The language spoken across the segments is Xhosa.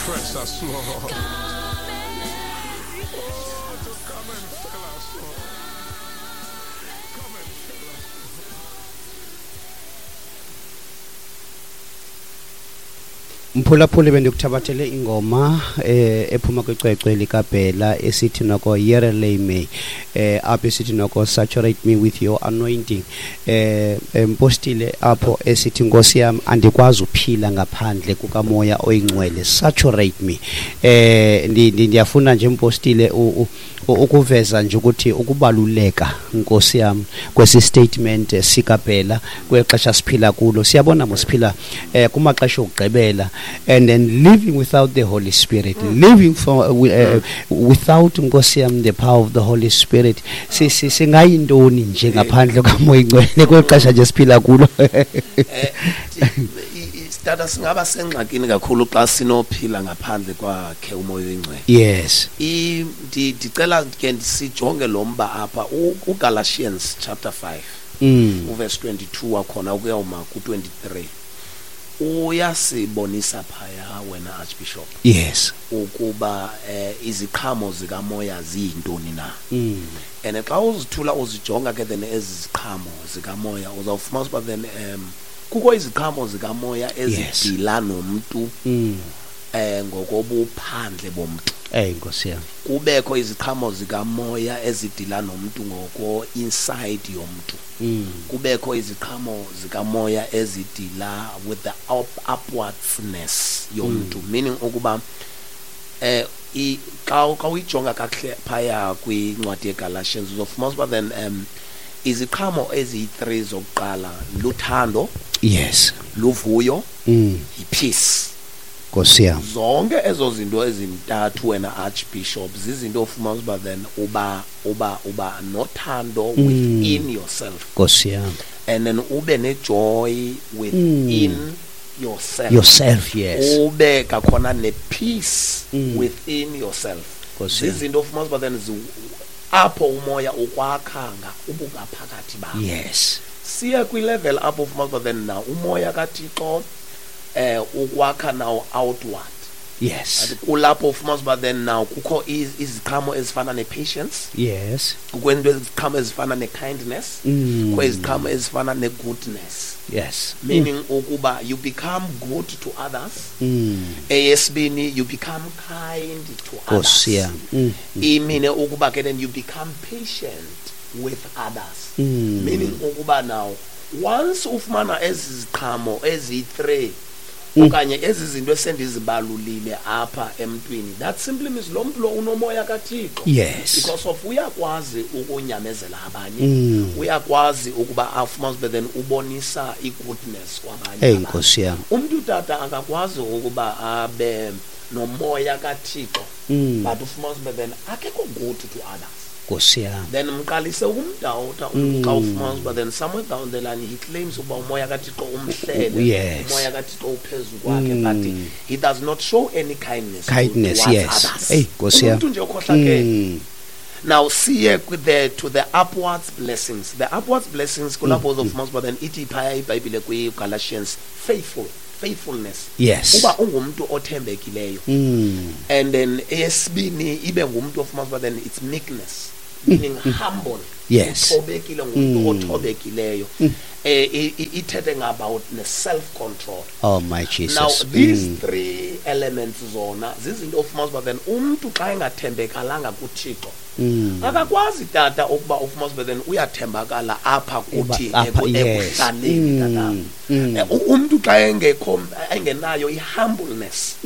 refresh us, Lord. Oh, to come and fill us, Lord. Come and fill us. Mphulaphuli, bendikuthabathele ingoma ephuma kwicwecwe likaBhela esithi noko Yereleme, apho esithi noko "Saturate me with your anointing". Mpostile, apho esithi, "Nkosi yam, andikwazi uphila ngaphandle kukaMoya oyiNgcwele, saturate me." Ndiyafuna nje, mpostile, ukuveza nje ukuthi ukubaluleka, nkosi yam, kwesi statement sikaBhela kweli xesha siphila kulo. Siyabona mosiphila kumaxesha okugqibela, and then living without the Holy Spirit, living for without, nkosi yam, the power of the Holy Spirit, singayintoni nje ngaphandle kaMoya iNgcwele kweli xesha nje siphila kulo? Tata, singaba sengxakini kakhulu xa sinophila ngaphandle kwakhe uMoya oyiNgcwele. Ndicela ke sijonge lo mba apha, uGalatians chapter 5, uverse 22 wakhona ukuyawuma ku-23, uyasibonisa phaya wena, Archbishop, ukuba iziqhamo zikaMoya ziyintoni na. And xa uzithula uzijonga ke then ezi ziqhamo zikaMoya, uzawufumana uba then kukho iziqhamo zikaMoya ezidila nomntu ngokobuphandle bomntu. Ey, nkosi yam. Kubekho iziqhamo zikaMoya ezidila nomntu ngoko inside yomntu. Kubekho iziqhamo zikaMoya ezidila with the upwardsness yomntu, meaning ukuba xa uyijonga kakuhle phaya kwincwadi yeGalatians, uzofumana uba then iziqhamo eziyi-3 zokuqala luthando, luvuyo, yi-peace. Nkosi yam. Zonke ezo zinto ezintathu wena, Archbishop, zizinto ofumana uba then uba nothando within yourself, Nkosi yam. and then ube nejoy within yourself, Yourself, yes. ube kakhona ne-peace within yourself. Nkosi yam. Zizinto ofumana uba then apho uMoya ukwakha ubungaphakathi bakho. Siya kwi-level apho ufumana uba then now uMoya kaThixo ukwakha now outward. Athi kulapho ufumana uba then now kukho iziqhamo ezifana ne-patience, kukho into iziqhamo ezifana ne-kindness, kukho iziqhamo ezifana ne-goodness, meaning ukuba you become good to others. Eyesibini, you become kind to others. Nkosi yam. Imine ukuba ke then you become patient with others, meaning ukuba now once ufumana ezi ziqhamo eziyi-3 okanye ezi zinto esendizibalulile apha emntwini, that simply means lo mntu lo unoMoya kaThixo, because of uyakwazi ukunyamezela abanye, uyakwazi ukuba afumane ube then ubonisa i-goodness kwabanye Hey, abantu. nkosi yam. Umntu, tata, akakwazi ukuba abe noMoya kaThixo, but ufumane ube then akekho good to others. Nkosi yam. Then mqalise ukumdawuta umntu xa ufumana uba then somewhere down the line he claims ukuba uMoya kaThixo umhlele, uMoya kaThixo uphezu kwakhe, but he does not show any kindness Kindness, towards others. Hey, nkosi yam. Umuntu nje okhohlakele. Now siye to the upwards blessings. The upwards blessings kulapho uzofumana uba then ithi phaya iBhayibhile kwi-Galatians, faithfulness, uba ungumuntu othembekileyo. And then eyesibini ibe ngumuntu ofumana uba then it's meekness, meaning humble, uthobekile, ngumuntu othobekileyo. Ithethe about ne-self control. Oh my Jesus. Now these three elements zona zizinto ofumana uba then umntu xa engathembekalanga kuThixo, akakwazi, tata, ukuba ufumana uba then uyathembakala apha kuthi Apha, yes. ekuhlaleni, tata. Umntu xa engekho, engenayo i-humbleness,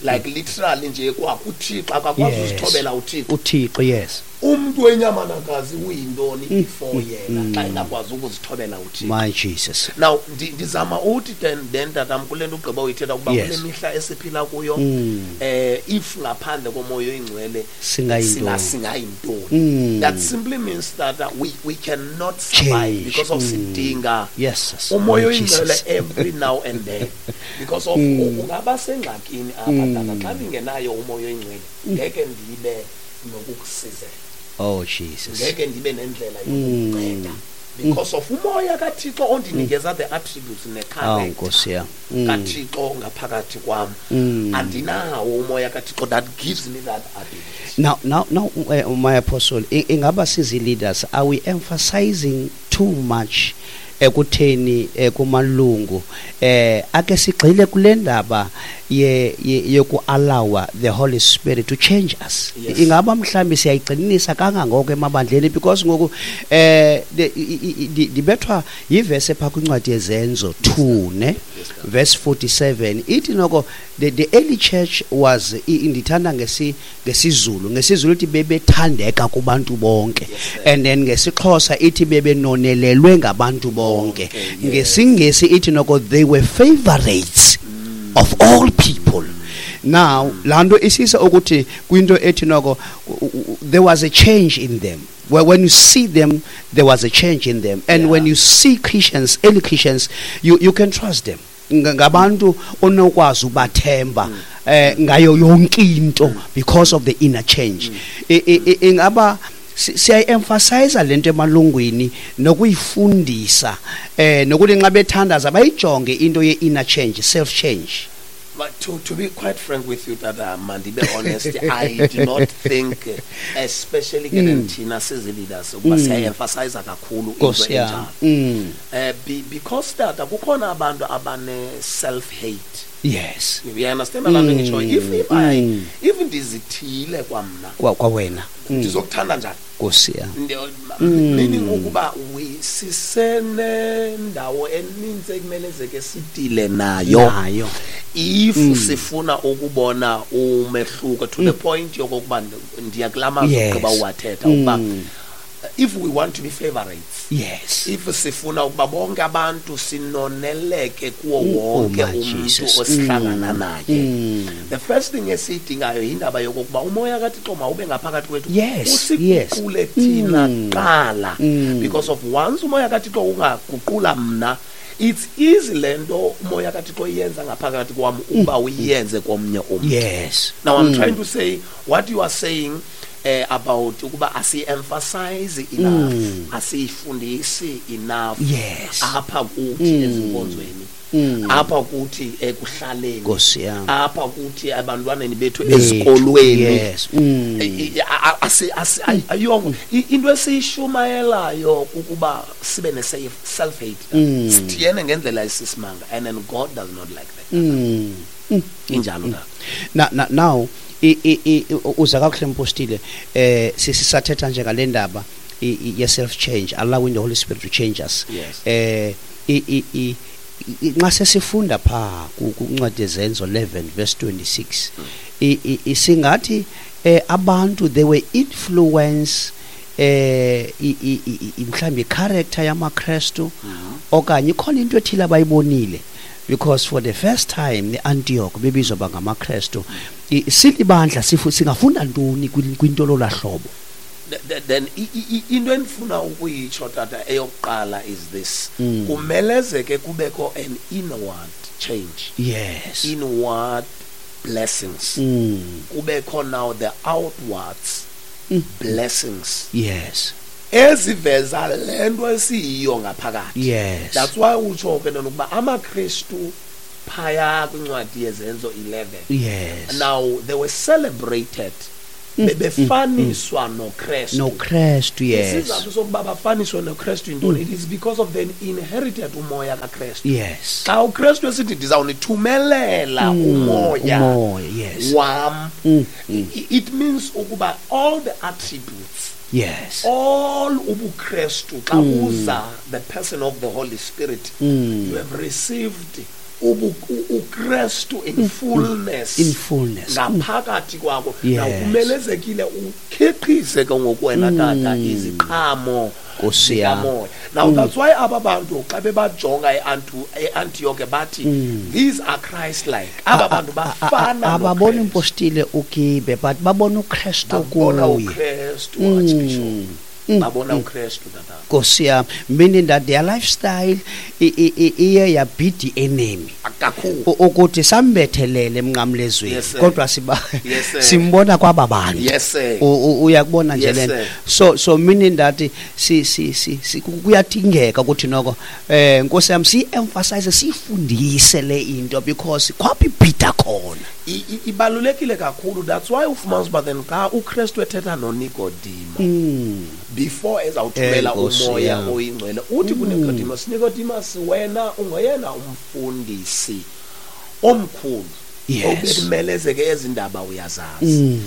like literally nje kwakuThixo, akakwazi uzithobela uThixo. UThixo, yes. Umntu wenyamanakazi uyintoni before yena xa engakwazi ukuzithobela uThixo? My Jesus. Now ndizama uthi then tatam, kule nto ugqiba uyithetha ukuba Yes. kule mihla esiphila kuyo, if ngaphandle koMoya oyiNgcwele, Singayintoni? singayintoni? That simply means that we cannot survive Change. because of sidinga Yes. uMoya My oyiNgcwele Jesus. every now and then, because of ungaba sengxakini apha, tata. Xa ndingenayo uMoya oyiNgcwele, ngeke ndibe nokukusizela, Oh Jesus. ngeke ndibe nendlela yokukunceda. Because of umoya kaThixo ondinikeza the attributes Awu ne-character Nkosi yam. kaThixo ngaphakathi kwam. Andinawo umoya kaThixo that gives me that ability. Now, my apostle, ingaba sizi leaders, are we emphasizing too much ekutheni kumalungu ake sigxile kule ndaba yoku-allowa the Holy Spirit to change us? Yes. Ingaba mhlawumbi siyayigxininisa kangangoko emabandleni? Because ngoku ndibethwa yivesi ephaa kwincwadi yeZenzo 2, ne, verse 47, ithi noko the early church was ndithanda ngesiZulu ithi bebethandeka kubantu bonke, and then ngesiXhosa ithi bebenonelelwe ngabantu bonke. NgesiNgesi ithi noko they were favorites of all people. Now laa nto isisa ukuthi kwinto ethi noko there was a change in them. Well, when you see them, there was a change in them. And when you see Christians, early Christians, you can trust them. Ngabantu onokwazi ubathemba ngayo yonke into because of the inner change. Ingaba siyayi-emphasize lento emalungwini nokuyifundisa, nokuthi nxa bethandaza bayijonge into ye-inner change, self change? But to be quite frank with you, Tata, mandibe honest, I do not think, especially ke thina sizi-leaders, ukuba siyayi-emphasize kakhulu into Nkosi yam. enjalo. Because tata, kukhona abantu abane-self hate. You understand laa nto ngitsho? If I if ndizithile kwamna, Kwawena. Ndizokuthanda njani? Nkosi yam. Meaning ukuba we sisenendawo eninzi ekumelezeke sidile nayo Nayo. if sifuna ukubona umehluko to the point yokokuba ndiya kulaa mazwi ugqiba uwathetha, ukuba if we want to be favorites, if sifuna ukuba bonke abantu sinoneleke kuwo wonke Oh my umuntu Jesus. osihlangana naye, the first thing esiyidingayo yindaba yokokuba umoya kaThixo mawube ngaphakathi kwethu, usiguqule thina kuqala, because of once umoya kaThixo ungaguqula mna, it's easy le nto umoya kaThixo iyenza ngaphakathi kwam ukuba uyenze komnye umntu. Now I'm trying to say what you are saying about ukuba asi-emphasize enough, asiyifundisi enough apha kuthi ezinkonzweni, apha kuthi ekuhlaleni, Nkosi yam. apha kuthi ebantwaneni bethu Bethu, ezikolweni. Ayongo into esiyishumayelayo kukuba sibe ne-self hate, sithiyene ngendlela esisimanga, and then God does not like that. Injalo na? Now uza kakuhle, mpostile. Sisathetha nje ngale ndaba ye self change, allowing the Holy Spirit to change us. Nxa sesifunda pha kuncwadi yeZenzo 11 verse 26, singathi abantu they were influence mhlawumbi character yamaKristu, okanye ikhona into ethile abayibonile, because for the first time eAntioch bebizwa bangamaKristu. Silibandla singafunda ntoni kwinto lolahlobo? Then into endifuna ukuyitsho, tata, eyokuqala is this: kumelezeke kubekho an inward change, inward blessings, kubekho now the outwards blessings eziveza le nto esiyiyo ngaphakathi. That's why utsho ke nona ukuba amaKristu phaya kwincwadi yeZenzo 11, now they were celebrated, bebefaniswa noKristu. NoKristu, yes. Isizathu sokuba bafaniswe noKristu yintoni? It is because of the inherited umoya kaKristu. Xa uKristu esithi, "Ndizawunithumelela umoya Umoya, yes. wam," it means ukuba all the attributes, all ubuKristu, xa uza the person of the Holy Spirit, you have received uKristu in fullness In fullness. ngaphakathi kwakho. Now kumelezekile ukhiqize ke ngokwena, tata, iziqhamo Nkosi yam. zikamoya. Now that's why aba bantu xa bebajonga eAntioch bathi, "These are Christ like aba bantu bafana Ababona noKristu." impostile ugibe, but babona uKristu Babona kuye. uKristu, Archbishop. Babona uKristu, tata. Nkosi yam, meaning that their lifestyle iye yabhida enemy kakhulu. Ukuthi sambethelele emnqamlezweni, Yes, sir. kodwa siba Yes, sir. simbona kwaba bantu. Yes, sir. Uyakubona nje Yes, lento. sir. So meaning that si si si, si kuyadingeka ukuthi noko Nkosi yami si emphasize, sifundise le into, because kwaphi ibhida khona. Ibalulekile kakhulu. That's why ufumanisa uba then xa uKristu ethetha noNikodimo before ezawuthumela Nkosi umoya yam. oyingcwele, uthi kuNicodemus, Nicodemus, wena ungoyena umfundisi omkhulu obekumelezeke ezi ndaba uyazazi.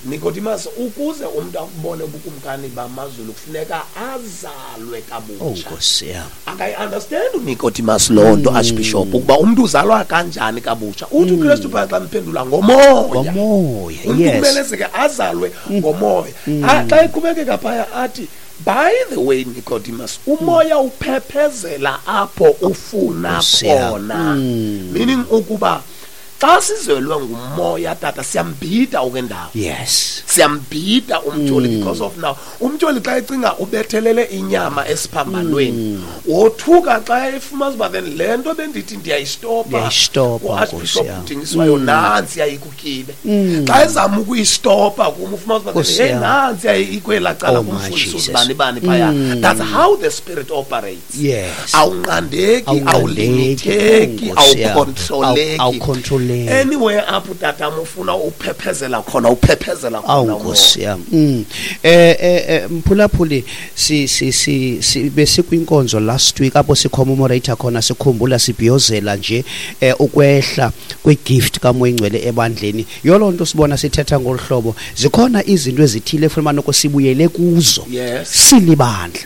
Nicodemus, ukuze umntu akubone ubukumkani bamazulu kufuneka azalwe Oh, kabutsha. Nkosi yam. Akayi-understand uNicodemus loo nto, Archbishop, ukuba umntu uzalwa kanjani kabutsha. Uthi uKristu phaya xa mphendula, ngomoya. Ngomoya. Umntu kumelezeke azalwe ngomoya. Xa eqhubekeka phaya athi, by the way, Nicodemus, umoya uphephezela apho ufuna Nkosi yam. khona. Meaning ukuba xa sizelwe ngumoya, tata, siyambhida okwendawo. Siyambhida umtyholi, because of now umtyholi xa ecinga ubethelele inyama esiphambanweni, wothuka xa efumanisa uba then le nto bendithi ndiyayistopa Ndiyayistopa, uArchbishop Nkosi yam. udingiswayo, nantsi yayikukile. Xa ezama ukuyistopa kum, ufumanisa uba then, Nkosi hey, yam. nantsi yayikwelaa cala Oh, my kumfundisi Jesus. uzibani bani phaya. That's how the spirit operates. Awunqandeki, Awunqandeki, awulimitheki, Nkosi yam. awukhontroleki. Awukhontroleki. Anywhere apho, tatam, ufuna uphephezela khona, uphephezela Awu, khona umoya. Nkosi yam. Mphulaphuli, si si si, si besikwinkonzo last week apho sicommemorate khona, sikhumbula, sibhiyozela nje ukwehla kwegift kaMoya Ingcwele ebandleni. Yolo nto sibona sithetha ngolu hlobo, zikhona izinto ezithile efuna noko sibuyele kuzo. Silibandla.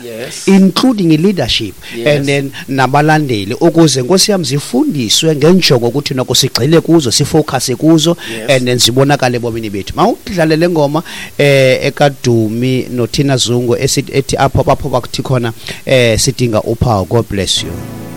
Including i-leadership and then nabalandeli, ukuze Nkosi yam zifundiswe ngenjongo ukuthi noko sigxile kuzo, sifocus kuzo, and then zibonakale ebomini bethu. Mawudlale le ngoma ekaDumi noThina Zungu esithi ethi apho bakuthi khona sidinga uphawu. God bless you.